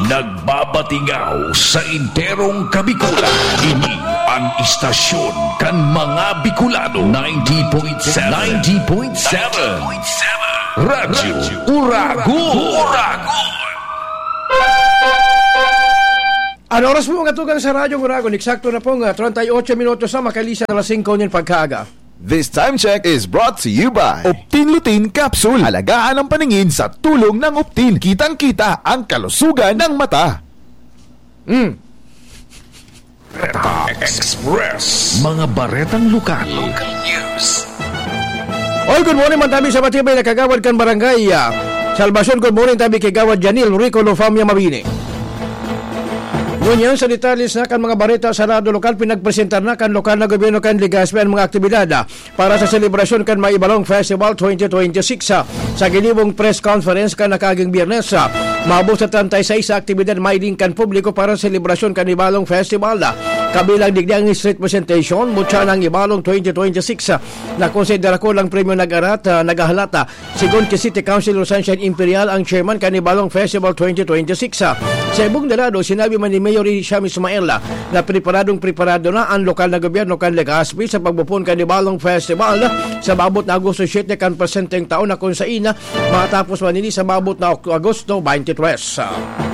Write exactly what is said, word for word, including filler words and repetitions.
Nagbabatingaw sa enterong Kabikulan. Ini ang istasyon kan mga Bicolano. Ninety point seven. Ninety point seven. Radyo Uragon. Uragon. An oras po, mga tugang, sa Radyo Uragon, eksakto na pong, ah, treinta y ocho minutos na makalisan na alas singko nin pagkaaga. This time check is brought to you by Optin Lutein Capsule. Alagaan ang paningin sa tulong ng Optin. Kitang-kita ang kalusugan ng mata. Mm. Bareta Express. Mga baretang lokal. Local news. Oy, good morning man tabi sa matibay na kagawad kan barangay, ah, Salvacion. Good morning tabi kay Gawad Janil Rico Lofamia Mabini. Ngunyan sa detalye na kan mga bareta sa Radyo Lokal, pinagpresentar na kan lokal na gobyerno kan Legazpi an mga aktibidad, ah, para sa selebrasyon kan Maibalong Festival twenty twenty-six, ah, sa ginibong press conference kan nakaaging Biyernes, ah. Maabot sa treinta y seis sa aktibidad mahiling kan publiko para sa selebrasyon kan Ibalong Festival, ah, kabilang digdi ang street presentation, mutya ng Ibalong twenty twenty-six, ah, na konsiderado ang premyo nag-arat, ah, naghahalat, ah, Sigon ki City Councilor Sunshine Imperial, ang chairman kan Ibalong Festival twenty twenty-six, ah, sa ibong dalado, sinabi man ni Mayor Hisham Ismail, ah, na preparadong preparado na an lokal na gobyerno kan Legazpi sa pagbopon kan Ibalong Festival, ah, sa maabot na Agosto siete kan presenteng taon, na kun sain, ah, matapos man ini sa maabot na Ok-, Agosto twenty-three. Ah.